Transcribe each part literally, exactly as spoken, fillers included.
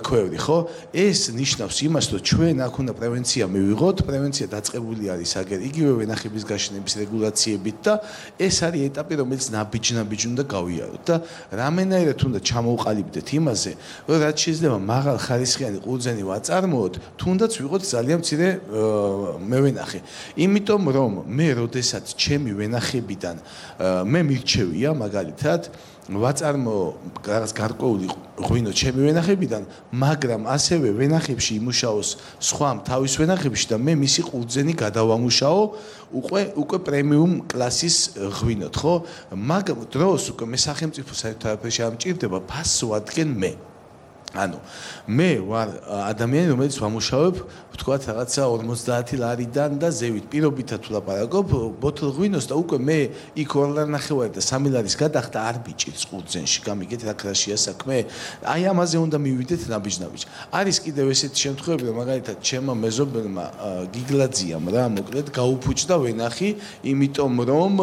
ქვევრი, ხო? ეს ნიშნავს იმას, რომ ჩვენ აქ უნდა პრევენცია მივიღოთ, პრევენცია დაწყებული არის აგერ იგივე ვენახების გაშენების რეგულაციებით და ეს არის ეტაპი, რომელიც ნაბიჯ-ნაბიჯ უნდა გავიაროთ და რამენაირად უნდა ჩამოვყალიბდეთ იმაზე, რომ რაც შეიძლება მაღალ ხარისხიანი ყურძენი ვაწარმოოთ, თუნდაც ვიყოთ ძალიან მცირე მევენახე. იმიტომ რომ მე როდესაც ჩემი ვენახებიდან მე მირჩევია მაგალითად ვაწარმო რაღაც გარკვეული ღვინო ჩემი ვენახებიდან, მაგრამ ასევე ვენახებში იმუშაოს სხვა თავის ვენახებში და მე მისი ყურძენი გადავამუშაო უკვე უკვე პრემიუმ კლასის ღვინოთ, ხო? მაგ დროს უკვე მე სახელმწიფო საერთოდ არაფერში არ მჭირდება, ფასს ვადგენ მე. ანუ მე ვარ ადამიანი, რომელიც ვამუშავებ, ვთქვათ, რაღაცა ორმოცდაათი ლარიდან და ზევით პირობითად თუ ლაპარაკობ ბოთლ ღვინოს და უკვე მე იქ ორ ლარ ნახევარი და სამი ლარის გადახდა არ ბიჭირს ყურძენში. გამიგეთ რა კრაშია საქმე? აი ამაზე უნდა მივიდეთ ნაბიჯ-ნაბიჯ. არის კიდევ ესეთი შემთხვევები, რომ მაგალითად ჩემმა მეზობელმა გიგლაძიამ რა მოკლედ გაუფუჭდა ვენახი, იმიტომ რომ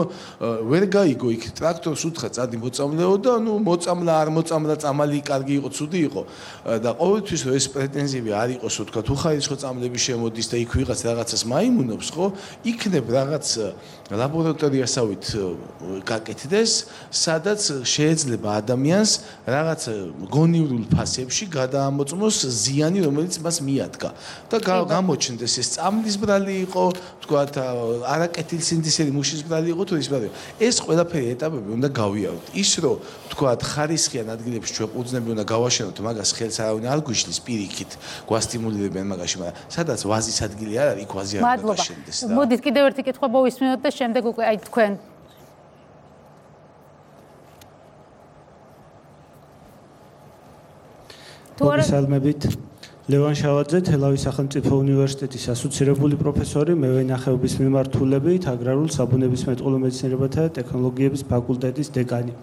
ვერ გაიგო იქ ტრაქტორს უთხრა წადი მოწამლეო და ნუ მოწამლა არ მოწამლა, წამალი კარგი იყო, ცუდი იყო. და ყოველთვის ეს პრეტენზიები არ იყოს, რომ თქვა თუ ხარისხო წამლები შემოდის და იქ ვიღაც რაღაცას მაიმუნობს, ხო? იქნებ რაღაც ლაბორატორიასავით გაკეთდეს, სადაც შეიძლება ადამიანს რაღაც გონივრულ ფასებში გადაამოწმოს ზიანი, რომელიც მას მიადგა. და გამოჩნდეს ეს წამლის ბრალი იყო, თქვა არაკეთილსინთეზური მუშის ბრალი იყო თუ ის ბრალი. ეს ყველაფერი ეტაპები უნდა გავიაროთ. ის რომ თქვა ხარისხიან ადგილებში ჩვენ ყურძნები უნდა გავაშენოთ, მაგას ხელს არავინ არ გვიშლის პირიქით, გვასტიმულირებენ მაგაში, მაგრამ სადაც ვაზის ადგილი არ არის, იქ ვაზი არ უნდა გაშენდეს და. მოდით კიდევ ერთი კითხვა მოვისმინოთ და შემდეგ უკვე აი თქვენ მოგესალმებით. ლევან შავაძე, თელავის სახელმწიფო უნივერსიტეტის ასოცირებული პროფესორი, მევენახეობის მიმართულებით, აგრარულ საბუნებისმეტყველო მეცნიერებათა და ტექნოლოგიების ფაკულტეტის დეკანი.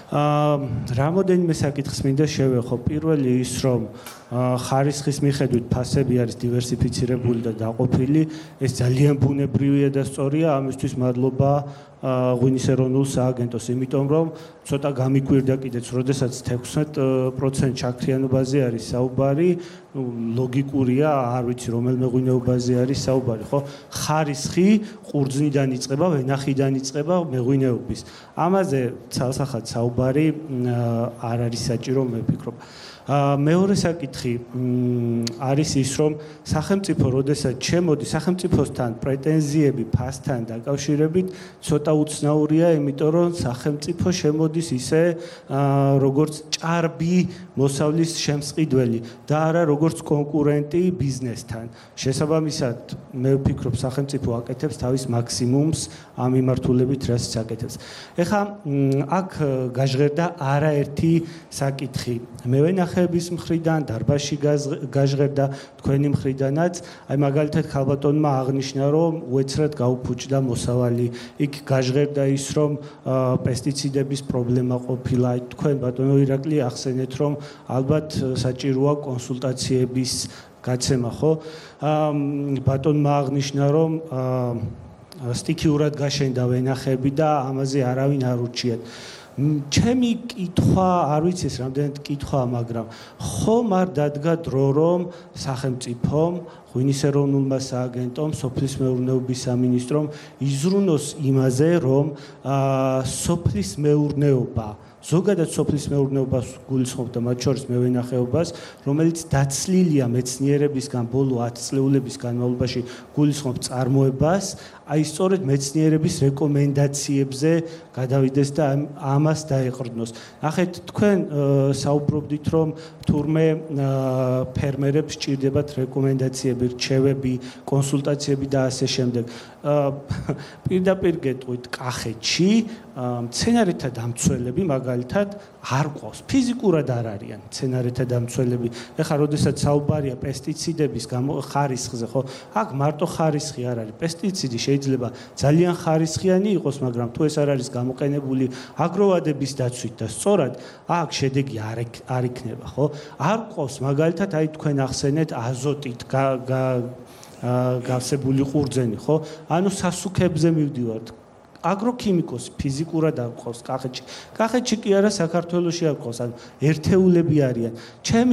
რამოდენიმე საკითხს მინდა შევეხო. პირველი ის, რომ ხარისხის მიხედვით ფასები არის დივერსიფიცირებული და დაყოფილი, ეს ძალიან ბუნებრივია და სწორია, ამისთვის მადლობა ღვინის ეროვნულ სააგენტოს, იმიტომ რომ ცოტა გამიკვირდა კიდეც, როდესაც ათექვსმეტ პროცენტ ჩაქრიანობაზე არის საუბარი, ლოგიკურია, არ ვიცი რომელიმე ღვინეობაზე არის საუბარი, ხო? ხარისხი ყურძნიდან იწყება, ვენახიდან იწყება მეღვინეობის. ამაზე ცალსახად საუბარი არ არის საჭირო, მე ვფიქრობ. მეორე საკითხი არის ის, რომ სახელმწიფო როდესაც შემოდი სახელმწიფოსთან პრეტენზიები ფასთან დაკავშირებით ცოტა უცნაურია, იმიტომ რომ სახელმწიფო შემოდის ისე როგორც ჭარბი მოსავლის შემსყიდველი და არა როგორც კონკურენტი ბიზნესთან. შესაბამისად, მე ვფიქრობ, სახელმწიფო აკეთებს თავის მაქსიმუმს ამ მიმართულებით, რასაც აკეთებს. ეხლა აქ გაჟღერდა არაერთი საკითხი. მევენახეების მხრიდან, დარბაზში გაჟღერდა, თქვენი მხრიდანაც, აი მაგალითად ქალბატონმა აღნიშნა, რომ უეცრად გაუფუჭდა მოსავალი. იქ გაჟღერდა ის, რომ პესტიციდების პრობლემა ყოფილა. თქვენ ბატონო ირაკლი ახსენეთ, რომ ალბათ საჭიროა კონსულტაციების გაცემა, ხო? ბატონმა აღნიშნა, რომ სტიქიურად გაშენდა ვენახები და ამაზე არავინ არ ურჩიათ. ჩემი კითხვა, არ ვიცი ეს რამდენად კითხვა, მაგრამ ხომ არ დადგა დრო, რომ სახელმწიფომ, ღვინის ეროვნულმა სააგენტომ, სოფლის მეურნეობის სამინისტრომ იზრუნოს იმაზე, რომ სოფლის მეურნეობა, ზოგადად სოფლის მეურნეობას გულისხმობ და მათ შორის მევენახეობას, რომელიც დაცლილია მეცნიერებისგან ბოლო ათი წლეულების განმავლობაში გულისხმობ წარმოებას, აი სწორედ მეცნიერების რეკომენდაციებზე გადავიდეს და ამას დაეყრდნოს. ნახეთ, თქვენ საუბრობდით, რომ თურმე ფერმერებს სჭირდებათ რეკომენდაციები, რჩევები, კონსულტაციები და ასე შემდეგ. პირდაპირ გეტყვით, კახეთში მცენარეთა დამცველები მაგალითად არ ყავს, ფიზიკურად არ არიან მცენარეთა დამცველები. ეხლა როდესაც საუბარია პესტიციდების ხარისხზე, ხო? აქ მარტო ხარისხი არ არის, პესტიციდი შეიძლება ძალიან ხარისხიანი იყოს, მაგრამ თუ ეს არ არის გამოყენებული აგროვადების დაცვით და სწორად აქ შედეგი არ არ იქნება, ხო? არ ყავს მაგალითად, აი თქვენ ახსენეთ აზოტით გავსებული ყურძენი, ხო? ანუ სასუქებზე მივდივართ. აგროქიმიკოსი ფიზიკურად არ ყავს კახეთში. კახეთში კი არა საქართველოში არ ყავს, ანუ ერთეულები არიან. ჩემი